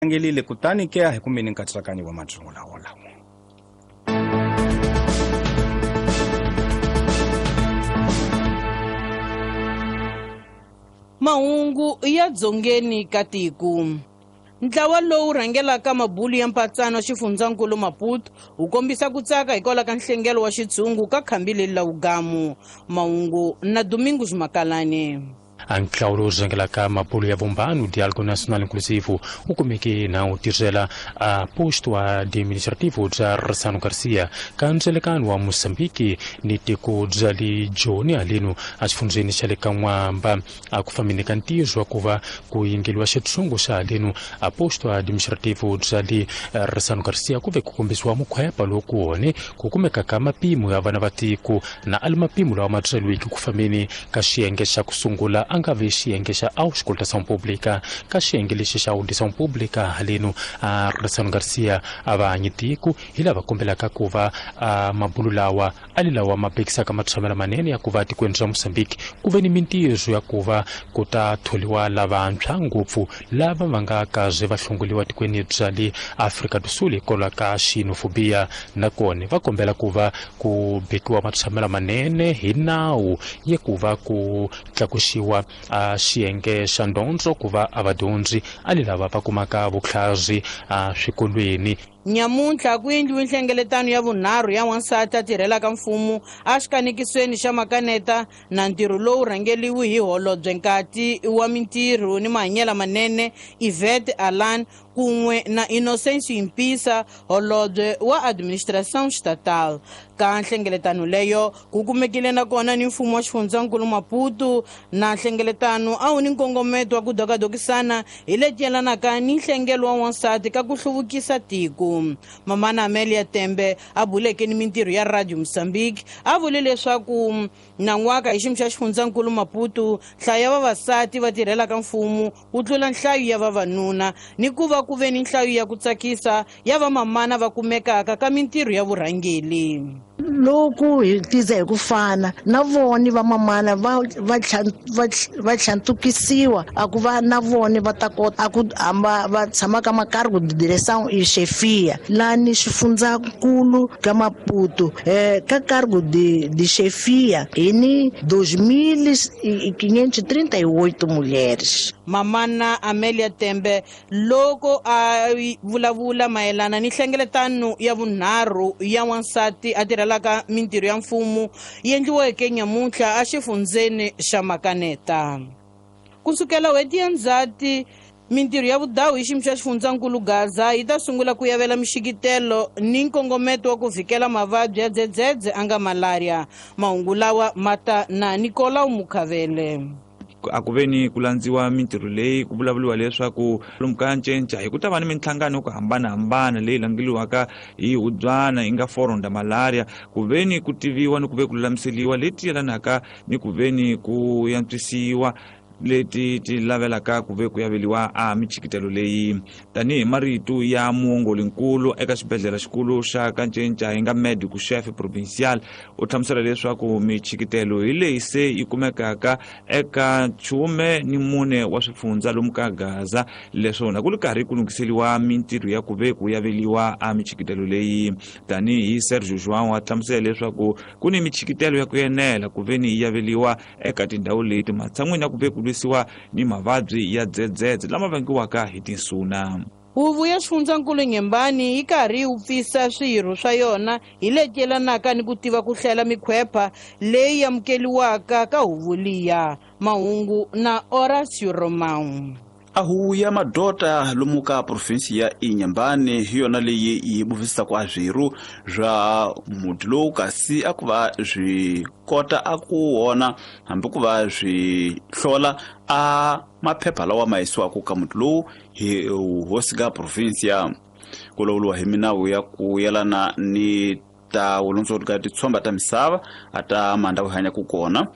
Angelile kutani ke a hi kumeni nkatsakanyo wa matsungula wolawo. Mahungu ya dzongeni ka tiko. Ntlawa lowu rhangelaka mabulu ya mpatsano xifundzankulu Maputo wu kombisa ku tsaka hikwalaho ka nhlengelo wa xitshungu ka khambi leri la wugamu. Mahungu na Domingos Makalane. Ntlawa lowu rhangelaka mabulu ya vumbano Diálogo Nacional Inclusivo wu kumeke na wu tirhela a posto administrativo bya Ressano Garcia ka ndzelekano wa Mozambique ni tiko bya le Joni haleno exifundzheni xa le ka N'wamba. A ku fambeni ka ntirho wa ku va ku yingeliwa xitshungu xa haleno a posto administrativo bya le Ressano Garcia ku ve ku kombisiwa mukhwepa lowu ku wone ku kumeka ka mapimo ya vana va tiko na ali mapimo lawa ma byeriweke ku fambeni ka xiyenge xa ku sungula a nga vi xiyenge xa auscultação pública. Ka xiyenge lexi xa audição pública haleno a Ressano Garcia a va hanyi tiko hi lava kombelaka ku va mabulu lawa ali lawa ma bekisaka matshamelo manene ya ku va tikweni ra Mozambique ku ve ni mintirho ya ku va ku ta tholiwa lavantshwa ngopfu lava va nga kaze va hlongoliwa tikweni bya le Afrika do Sul hikwalaho ka xenofobia. Nakona va kombela ku va ku bekiwa matshamelo manene hi nawu ya ku va ku tlakuxiwa a xiyenge xa ndondzo ku va a vadyondzi ali lava va kumaka vutlhari eswikolweni. Nyamuntlha ku endliwe nhlengeletano ya vunharhu ya wansati a tirhelaka mfumo exikanekisweni xa Makaneta na ntirho lowu rhangeliwe hi holobye nkati wa mintirho ni mahanyelo manene Yvette Alan kun'we na Innocencio Impisa holobye wa administration estatal. Ka nhlengeletano leyo ku kumekile nakona ni mfumo wa xifundzankulu Maputo na nhlengeletano a wu ni nkongometo wa ku dokadokisana hi leti yelanaka ni nhlengelo wa wansati ka ku hluvukisa tiko. Mamana Amelia Tembe a buleke ni mintirho ya Radio Mozambique a vule leswaku nan'waka hi xiyimo xa xifundzankulu Maputo nhlayo ya vavasati va tirhelaka mfumo wu tlula nhlayo ya vavanuna ni ku va ku ve ni nhlayo ya ku tsakisa ya vamamana va kumekaka ka mintirho ya vurhangeli. Loko hi tiza hi ku fana na voni vamamana va va tlhantukisiwa a ku va na voni va ta kota a ku hamba va tshama ka makargo de direção e chefia la ni xifundzankulu ka Maputo ka cargo de chefia hi ni 2538 mulheres. Mamana Amelia Tembe loko a vulavula mayelana ni nhlengeletano ya vunharhu ya wansati a tirhelaka mintirho ya mfumo yi endliweke nyamuntlha exifundzeni xa Makaneta. Kusukela n'hweti ya Ndzhati mintirho ya vudawu hi xiyimo xa xifundzankulu Gaza yi ta sungula ku yavela mixikitelo ni nkongometo wa ku vhikela mavabyi ya dzedzedze a nga malaria. Mahungu lawa ma ta na Nicolau Mukhavele. A ku ve ni ku landziwa mintirho leyi ku vulavuriwa leswaku lomu ka ncenca hi ku ta va ni minhlangano yo ku hambanahambana leyi langeliwaka hi hubyana yi nga Forum da Malaria ku ve ni ku tiviwa ni ku ve ku lulamiseliwa leti yelanaka ni ku ve ni ku yantswisiwa leti ti lavelaka ku ve ku yaveliwa a michikitelo leyi. Tanihi marito ya muongolinkulu eka xibedhlele xikulu xa ka Ncenca hi nga médico chefe provincial u hlamusela leswaku michikitelo hi leyi se yi kumekaka eka 14 wa swifundza lomu ka Gaza, leswona ku ri karhi ku lunghiseliwa mintirho ya ku ve ku yaveliwa a michikitelo leyi. Tanihi Sergio João a hlamusela leswaku ku ni michikitelo ya ku enela ku ve ni yi yaveliwa eka tindhawu leti matshan'wini ya ku ve ku lwisiwa ni mavabyi ya dzedzedze lama vangiwaka hi tinsuna. Huvo ya xifundzankulu Nyembani yi karhi yi wupfisa swirho swa yona hi leti yelanaka ni ku tiva ku hlela mikhwepha leyi amukeliwaka ka huvo liya. Mahungu na Horacio Romão. A huvo ya madota lomu ka provinsi ya Inhambane hi yona leyi yi buvisaka a swirho swa muti lowu kasi a ku va swi kota a ku wona hambi ku va swi hlola a maphepha lawa ma yisiwaka ka muti lowu hi hosi ka provinsia. Ku lawuriwa hi minawu ya ku yelana ni ta vulondzolo ka titshomba ta misava a ta mandhawu hi hanyaka kona.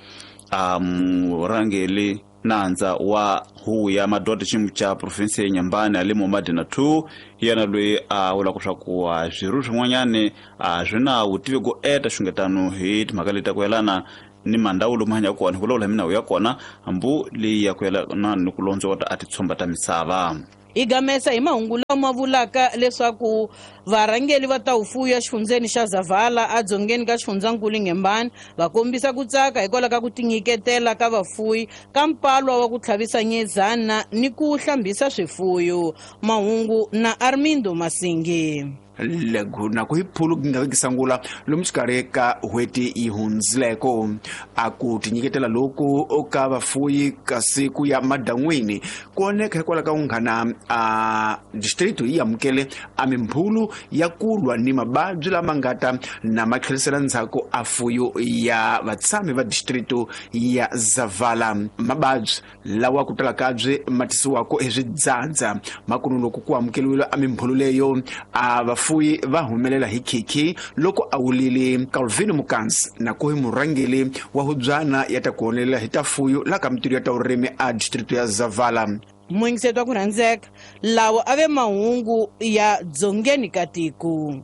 A murhangeli nandza wa huvo ya madoda xiyimo xa provinsi ya Inhambane ali Momadi na 2 hi yena loyi a vulaka swa ku swirho swin'wanyani a swi na vutivi go eta xungetano hi timhaka leti ta ku yelana ni mandhawu lomu hanyaka kona hi vulavula hi minawu ya kona hambi leyi ya ku yelana ni ku londzota a titshomba ta misava. Hi gamesa hi mahungu lama vulaka leswaku varhangeli va ta vufuwi exifundzeni xa Zavala edzongeni ka xifundzankulu Inhambane va kombisa ku tsaka hikwalaho ka ku tinyiketela ka vafuwi ka mpalwa wa ku tlhavisa nyezana ni ku hlambisa swifuyo. Mahungu na Armindo Masingi. Lego na ku hi phulu ku nga vekisangula lomu xikarhi ka n'hweti yi hundzileko a ku tinyiketela loku ka vafuyi kasi ku ya madan'wini ku oneka hikwalaho ka ku nghana a district yi amukele a mimbhulu ya ku lwa ni mavabyi lama nga ta na ma tlherisela ndzhaku a fuyo ya vatshami va district ya Zavala. Mavabyi lawa ku tala kabye ma tisiwaka hi swidzadza makunu loko ku amukeliwile a mimbhulu leyo a vafuyi va humelela hi khikhi loko a wulile Calvin Mukansi na ku hi murhangeli wa hubyana ya ta ku honelela hi ta fuyo la ka mitirho ya ta vurimi a district ya Zavala. Muyingiseti wa ku rhandzeka, lawa a ve mahungu ya dzongeni ka tiko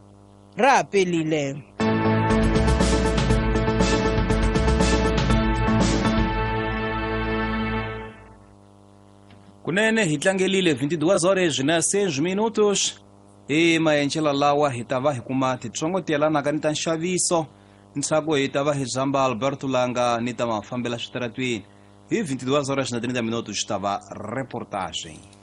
ra ha pelile. Kunene hi tlangelile 22 horas na 6 minutos. Hi maenxelo lawa hi ta va hi kuma titsongo ti yelanaka ni ta nxaviso ntshaku hi ta va hi zamba Alberto Langa ni ta mafambela switaratwini hi 22 horas na 30 minutos xi ta va reportage.